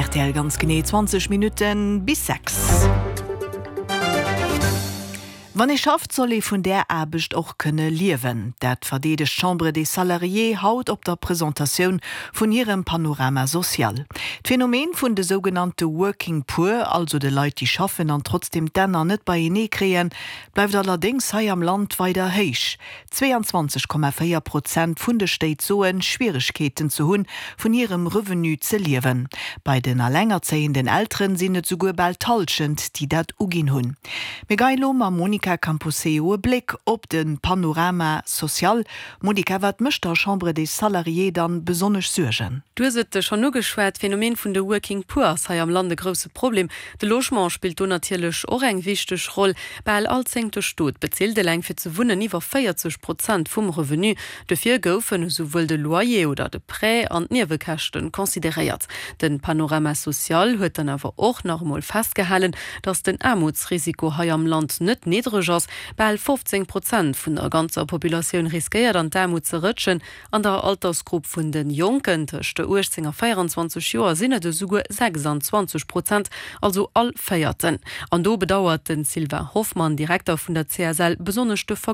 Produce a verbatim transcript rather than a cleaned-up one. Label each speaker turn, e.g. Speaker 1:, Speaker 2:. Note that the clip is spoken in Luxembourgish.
Speaker 1: R T L, ganz genee zwanzeg Minutten bis sechs. Wann ee schafft, soll ee vun där Aarbecht och kënne liewen. Dat verdeedegt d'Chambre des Salariés haut op der Presentatioun vun hirem Panorama social. D'Phänomen vun de sougenannte Working Poor, also de Leit, déi schaffen an trotzdem d'Enner net beienee kréien, bleift allerdéngs hei am Land weider héich. zweiundzwanzeg Komma véier Prozent vun de Stéit soen, Schwieregkeeten ze hunn, vun hirem Revenu ze liewen. Bei den allengerzéienden Elteren sinn et souguer bal d'Hallschent, déi dat uginn hunn. Mir geheien elo mam Monica Camposeo e Bléck op de Panorama social. Monica, wat mécht der Chambre des Salariés dann besonnesch Suergen?
Speaker 2: Du hues et schonn ugeschwat, d'Phänomen vun de Working Poor ass hei am Land e grousse Problem. De Logement spillt do natierlech och eng wichteg Roll. Bal all zéngte Stot bezilt eleng fir ze wunnen iwwer véierzeg Prozent vum Revenu. Dofir goufen esouwuel de Loyer oder de Prêt an d'Niewekäschten consideréiert. Den Panorama social huet dann awer och nach emol festgehalen, dass den Aarmutsrisiko hei am Land net niddreg ass. Bal fofzéng Prozent vun der ganzer Populatioun riskéiert an d'Aarmut ze rëtschen. An der Altersgrupp vun de Jonken tëscht uechtzéng a véierenzwanzeg Joer sinn et esouguer sechsanzwanzeg Prozent, also all Véierten. An do bedauert den Sylvain Hoffmann, Direkter vun der C S L, besonnesch de